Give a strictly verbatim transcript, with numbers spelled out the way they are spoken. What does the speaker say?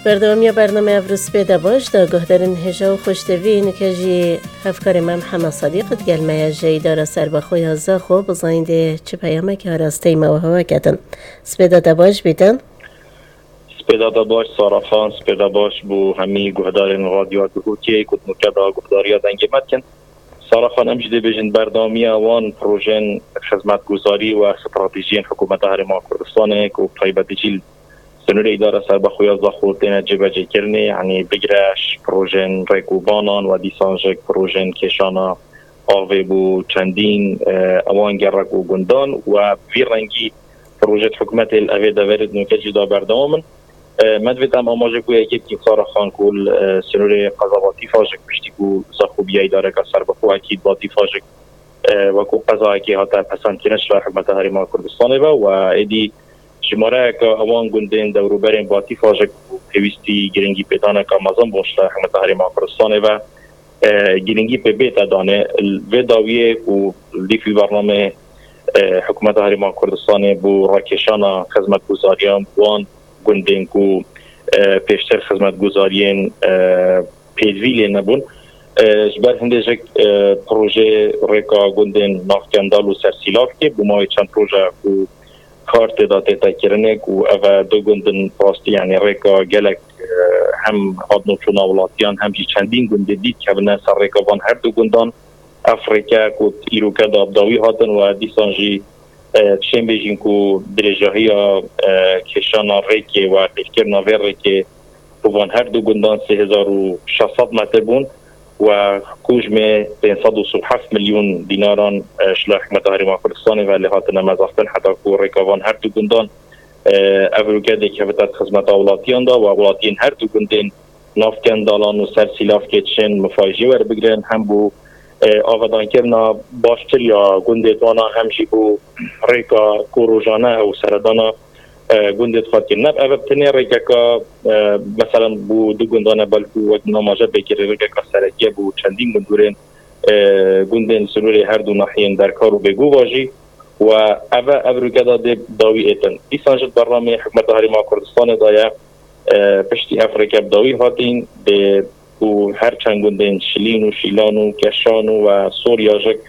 Berdewamiya bername Evrû Spê de baş da guhdarên hêja û xweştevî nike jî hevkarê me Mihemed Sedîq digel me ye ji Îdara Serbexwe ya Zaxo, bizanîn dê çi peyamekî arasteyî me we hewe ketin. Spêda te baş bîtin. Spêda te baş Sara Xan, spêda baş bû hemî guhdarên Radyoya Duhokê ku di nûke de guhdariya dengê me dikin. Sara Xan, em jî dê bêjin berdewamiya wan projeyên xizmetguzarî û stratejiyên Hikûmeta Herêma Kurdistanê ku bi taybetî jî li Sinûrê Îdara Serbexwe ya Zaxo têne cêbecêkirinê, yanî bigire ji projeyên rêk û banan we dîsan ji projeyên kêşana avê bo çendîn, e, ewan gerek û gundan we bi vî rengî projeyê hikûmetê li evê deverê di nûke jî da berdewam in. E, me divêt em amaje ku yekê bikîn Sara Xan ku li, e, sinûrê qeza Batîfa ji piştî ku Zaxo biya îdareka serbixwe, ekîd Batîfa ji, e, wekû qezayekê hate pesendkirin ji ber hikûmeta Herêma Kurdistanê ve we êdî jimareyeke ewan gundên dewrûberên Batîfa ji ku pêwîstî giringî pêdaneke mezin bûn ji ber hikûmeta Herêma Kurdistanê ve, e, giringî pê bête danê. Li vê dawiyê ku li dîf vî bernamê, e, hikûmeta Herêma Kurdistanê bo rakêşana xizmetguzariyan wan gundên ku, e, pêştir xizmetguzariyên, e, pêdivî lê nebûn. E, ji ber hindê jik, e, projeyê rêka gundên Navkendal û Sersîlavkê bo mawê çend roja ku kar tê de tête kirinê ku ev e du gund in rastî, yanî rêka gelek, e, hem hatin û çûna welatiyan hem jî çendîn gundê dî dikevine ser rêka van her du gundan. Ev rêke ku îroke de bi dawî hatin we dîsan jî, e, dişên bêjin ku dirêjahiya, e, kêşana rêkê we qîrkirina vê rêkê bo van her du gundan sê hezar û şeş sed metr bûn we hikûmê pênc sed û sî û heft milyon dînaran, e, ji la hikûmeta Herêma Kurdistanê ve lê hatine mezextin heta ku rêka van her du gundan, e, ev rûke dê kevite di xizmeta welatiyan de we welatiyên her du gundên Navkendalan û Sersîlavkê dişên mifayî jê werbigrin, hem bo, e, avadankirina baştir ya gundê wana hem jî bo rêka ku rojane ew seredana, e, gundê dixwat kirin. Ne ev bi tenê rêkeka, e, meselen bo du gundane belkû wek namaje pê kirî rêkeka serekî ye bo çendîn gundûrên, e, gundên sirûrê her du nahiyên Derkar û Bêgova jî. We ev e, ev rûke de dê dawî êtin. Dîsan jî di bernameyê hikûmeta Herêma Kurdistanê de ye, e, piştî ev rêke bi dawî hatîn, dê ku her çend gundên Şilîn û Şîlan û Keşan û we Sorya jik